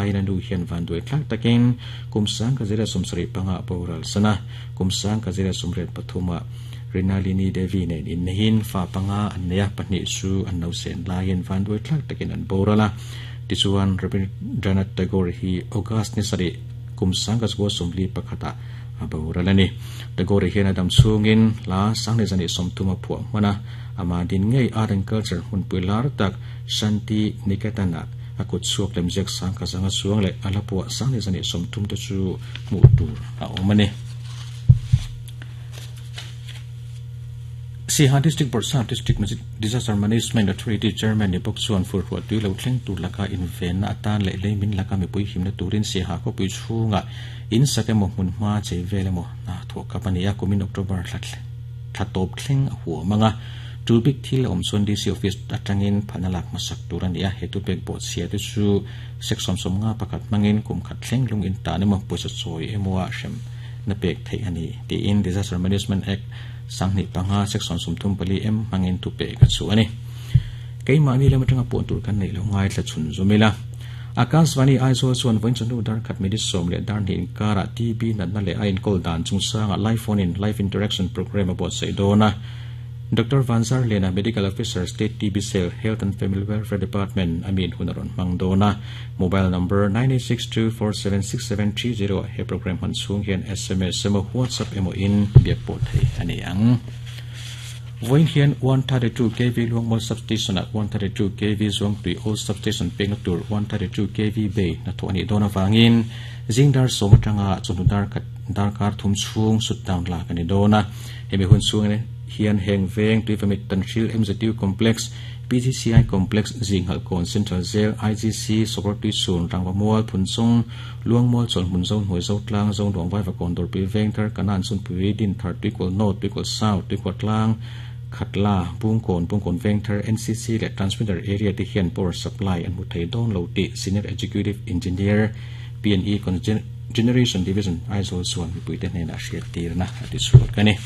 laiin a nu hian vanduai thlak takin kum 1975 a boral san a, kum 1983 ah Rinalini Devi nen inneihin fa panga an nei a, pahnih chu an lo sen laiin vanduai thlak takin an boral a. Tichuan, Rabindranath Tagore hi August ni sarih kum 1941 ah a boral a ni. Tagore hian a dam chhungin hla 2030 a phuah hman a, amah din ngei Art and Culture hmunpui lar tak Shanti Niketan-ah a kut chhuak lemziak 10,100 chuang leh a hla phuah 2030 te chu hmuh tur a awm a ni. Siha District Bawrhsap District Disaster Management Authority Chairman ni bawk chuan furhruah tui lo thleng tur laka invenna atan leh lei min laka mipui himna turin Siha khawpui chhungah in sak emaw hmun hma chei vel emaw hna thawh kap a ni a, kumin October thla thla tawp thleng a huam ang a. Tul bik thil a awm chuan DC Office atangin phalna lak hmasak tur a ni a, he tupek bawhchhia te chu section 51 hmangin kum khat thleng lung in tan emaw pawisa chawi emaw a hrem na pek theih a ni tiin Disaster Management Act 2005 section 34 M hmangin thupek a chhuah a ni. Keimahni lam atanga puan tur kan neih loh ngaithla chhun zum ila. Akashvani Aizawl chuan vawiin chawhnu dar khat minute sawm leh dar hnih inkarah TB natna leh a inkawl dan chungchangah live phone in live interaction programme a buatsaih dawn a. Doctor Vanzar Lena, Medical Officer, State TB Cell, Health and Family Welfare Department a min hun a rawn hmang dawn a. Mobile number 9862476730 ah he programme hman chhung hian sms emaw WhatsApp emaw in biak pawh thei a ni ang. Vawiin hian 132 kv Luangmual Substation-ah 132 kv Zuangtui Old Substation pekna tur 132 kv bay hnathawh a nih dawn avangin zing dar sawm atanga chawhnu dar khat darkar thum chhung shutdown lak a ni dawn a. Hemi hun chhung hian heng veng Tuivamit Tanhril MZU Complex, PGCI Complex, Zinghalhkawn Central Jail, IGC, Sawkawr Tuichhun, Rangvamual, Phunchawng, Luangmual, Chawlhmun, Zohnuai, Zotlang, Zonuang, Vaivakawn, Dawrpui, Vengthar, Kanan, Sunpui, Dinthar, Tuikual North, Tuikual South, Tuikual Tlang, Khatla, Bungkawn, Bungkawn Vengthar, NCC leh Transmitter Area te hian power supply an hmu thei dawn lo tih Senior Executive Engineer, PNE Generation Division, Aizawl chuan mipuite hnenah hriattirna a ti chhuak a ni.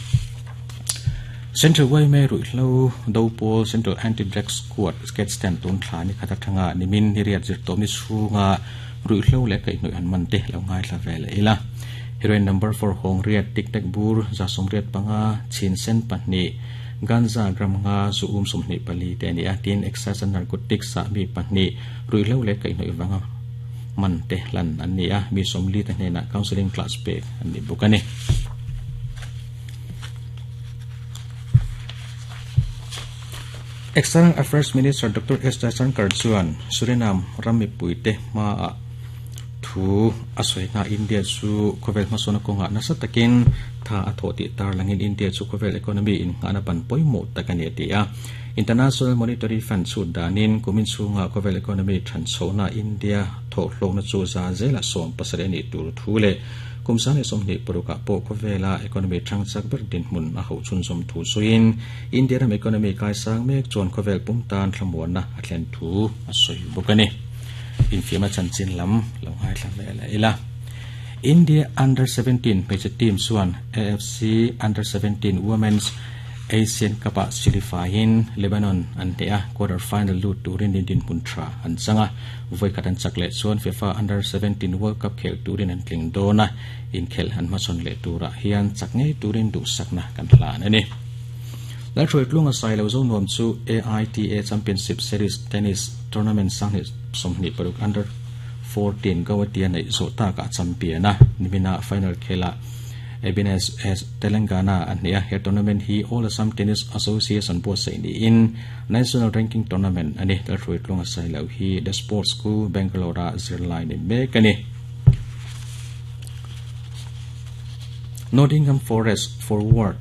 Central yma ruihhlo do pawl Central Anti-Drug Squad sketch ten tun thla ni khat atanga nimin ni riat zir tawh ni chhunga ruihhlo leh kaihhnawih an man te lo ngaithla ve leh ila. Heroin number four hawng riat tic tac bur 185 chhin sen pahnih ganja gram nga zu um 24 te a ni a, tin Excise and Narcotics ah mi pahnih ruihhlo leh kaihhnawih vanga man te hlan an ni a, mi 40 te hnenah counselling class pek an ni bawk a ni. External Affairs Minister Doctor S Jaishankar chuan Suriname ram mipuite hmaah thu a sawi hna India chu khawvel hmasawnna kawngah nasa takin tha a thawh tih tarlangin India chu khawvel economy innghahna ban pawimawh tak a ni a ti a. International Monetary Fund chhut danin kumin chhunga khawvel economy than chhohna India thawhhlawkna chu za zela 17 a nih tur thu leh Kum 2026 ah pawh khawvela economy thang chak ber dinhmun a hauh chhunzawm thu sawiin India ram economy kaisang mek chuan khawvel pum tan thlamuanna a thlen thu a sawi bawk a ni. Infiamna chanchin lam lo ngaithla ve leh ila. India Under 17 hmeichhe team chuan AFC Under 17 Women's Asian Cup-ah silifaiin Lebanon an hneh a, quarter final lut turin dinhmun tha an chang a. Vawi khat an chak leh chuan FIFA Under 17 World Cup khelh turin an tling dawn a, inkhelh an hmachhawn leh turah hian chak ngei turin duhsakna kan hlan a ni. Lalhruaitluanga Sailo Zonuam chu AITA Championship Series Tennis Tournament 2026 Under 14 Guwahati a neih zawh takah champion a, nimina final khelah Abines S Telangana a hneh a, he tournament hi All Assam Tennis Association buatsaih niin National Ranking Tournament a ni. Lalhruaitluanga Sailo hi The Sports School, Bangalore-a zirlai ni mek a ni. Nottingham Forest forward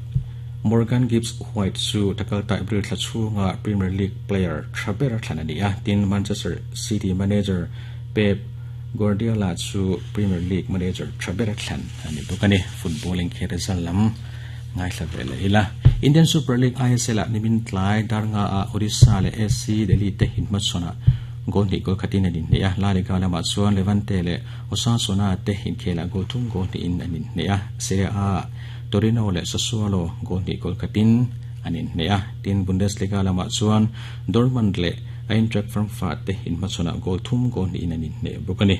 Morgan Gibbs-White chu takalta April thla chhunga Premier League player tha ber thlan a ni a, tin Manchester City manager Pep Guardiola chu Premier League manager tha ber thlan a ni bawk a ni. Football inkhel result lam ngaithla ve leh ila. Indian Super League ISL ah nimin tlai dar nga ah Odisha leh SC Delhi te inhmachhawn ah goal hnih goal khatin an inhneh a. La Liga lamah chuan Levante leh Osasuna te inkhel ah goal thum goal hnihin an inhneh a. Serie A ah Torino leh Sassuolo goal hnih goal khatin an inhneh a. Tin, Bundesliga lamah chuan Dortmund leh Eintracht Frankfurt te inhmachhawn ah goal thum goal hnihin an inhneh bawk a ni.